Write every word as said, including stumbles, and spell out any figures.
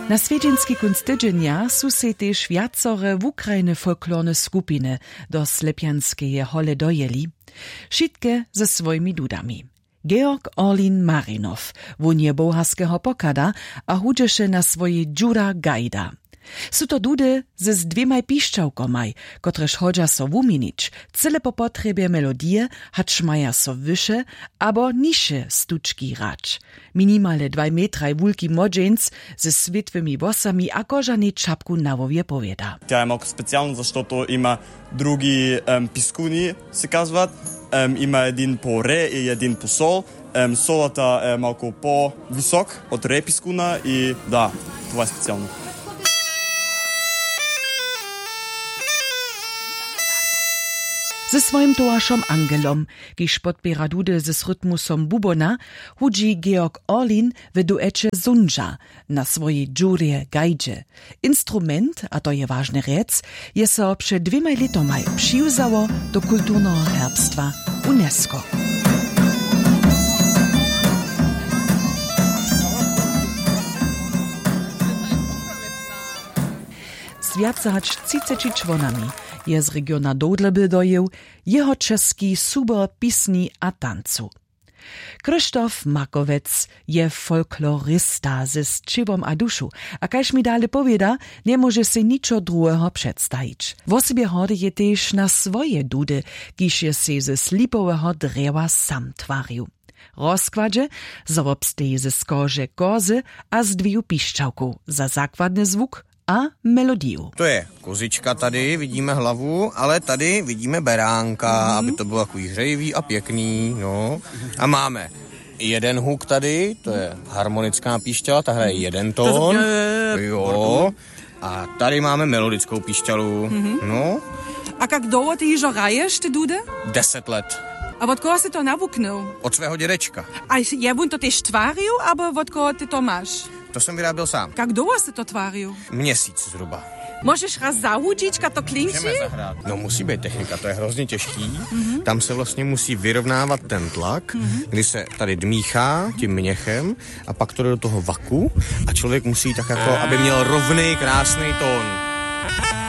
Na swjedźenski kónc tydźenja su sej tež wjacore wukrajne folklorne skupiny do slepjanskeje hole dojěli, wšitke ze swojimi dudami. Georg Orlin Marinow, wón je boharskeho pochada a hudźeše na swojej džura gajda. Su to dudy z dwěmaj pišćałkomaj, kotrež hodźa so wuměnić cyle po potrjebje melodije, hač maja so wyše abo nižše stučki hrać. Minimale dwaj metraj wulki młodźeńc ze swětłymi włosami a kožanej čapku na hłowje powěda. Ja mam specijalno za što to ima drugi em, piskuni se kazovat. Em, ima jedin po re i jedin po sol. Em, solata em, ako po wysok od re piskuna i da, to je specijalno. Ze swojim towaršom Angelom, kiž podpěra dudy z rytmusom bubona, hudźi Georg Orlin w dueće Zundźa na swojej džurje gajdźe. Instrument, a to je wažne rjec, je so před dwěmaj lětomaj přiwzało do kulturneho herbstwa UNESCO. Z wjace hač třiceći čłonami je z regiona Dołdleby dojěł jeho česki subor pisni a tancu. Krzysztof Makowec je folklorista ze sćěłom a dušu, a kaž mi dale powěda, njemóže sej ničo druheho předstajić. Wosebje hordy je tež na swoje dudy, kiž je sej ze slipoweho drjewa sam twarił. Rozkładźe zo wobsteji ze skože kozy a z dwěju pišćałkow za zakładny zwuk a melodiju. To je kozička, tady vidíme hlavu, ale tady vidíme beránka, aby to bylo takový hřejivý a pěkný. No. A máme jeden huk tady, to je harmonická píšťala, ta hraje jeden tón. Jo. A tady máme melodickou píšťalu. No. A jak dlouho ty jižo hraješ ty dudy? Deset let. A od koho si to nawuknul? Od svého dědečka. A je on to tež twaril, abo od koho ty to máš? To jsem vyráběl sám. Jak dlouho si to twaril? Měsíc zhruba. Môžeš raz zahudźić, ka to klinči? Môžeme zahrát. No, musí být technika, to je hrozně těžký. Tam se vlastně musí vyrovnávat ten tlak, kdy se tady dmíchá tím měchem a pak to jde do toho vaku a člověk musí tak jako, aby měl rovnej, krásnej tón.